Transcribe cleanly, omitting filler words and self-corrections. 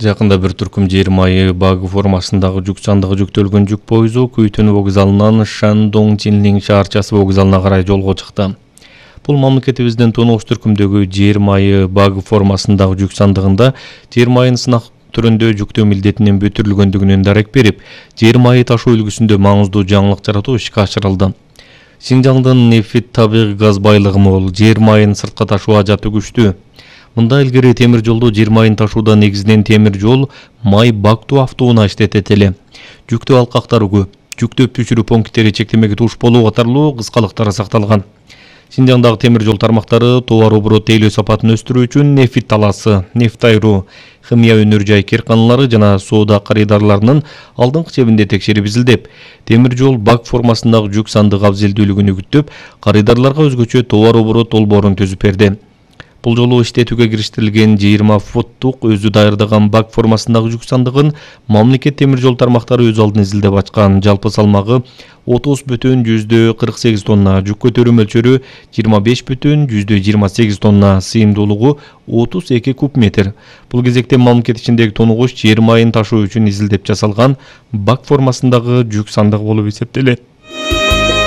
Жакында бир түркүм жер майы баг формасындагы жүк сандыгы жүктөлгөн жүк пойузу Күйтөн вокзалынан Шандонг-Чинлин шаарчасы вокзалына карай жолго чыкты. Бул мамлекетибиздин тунуш түркүмдөгү жер майы баг формасындагы жүк сандыгында жер майын сынак түрүндө жүктөө милдетинин бүтүрүлгөндүгүнөн дарек берип, жер майы ташуу үлгүсүндө маңыздуу жаңылык жаратуу ишке ашырылды. Синжаңдын нефит табигый газ байлыгы мол, жер майын сыртка ташуу ажаты күчтүү. Мында илгери темир жолду жер майын ташууда негизинен темир жол май бактуу автоунаа иштетет эле. Жүктөө алкактары көп, жүктөп түшүрүү пункттери чектемеге туш болуу катарлуу кыскалыктар сакталган. Синжаңдагы темир жол тармактары товар оборот тейлөө сапатын өстүрүү үчүн нефит талаасы, нефт айруу, химия өнөр жай керканалары жана соода карыдарларынын алдыңкы чебинде текшерип изилдеп, темир жол баг формасындагы жүк сандыгы абзелдүүлүгүн үгүттөп, карыдарларга өзгөчө товар оборот долбоорун түзүп берди. Бул жолу иштетүүгө кириштирилген 20 футтук өзү даярдаган баг формасындагы жүк сандыгын мамлекет темир жол тармактары өз алдын изилдеп ачкан. Жалпы салмагы 30,48 тонна, жүк көтөрүү мөлчөрү 25,28 тонна, сыйымдуулугу 32 куб метр. Бул кезекте мамлекет ичиндеги тунугуш жер майын ташуу үчүн изилдеп жасалган баг формасындагы жүк сандыгы болуп эсептелет.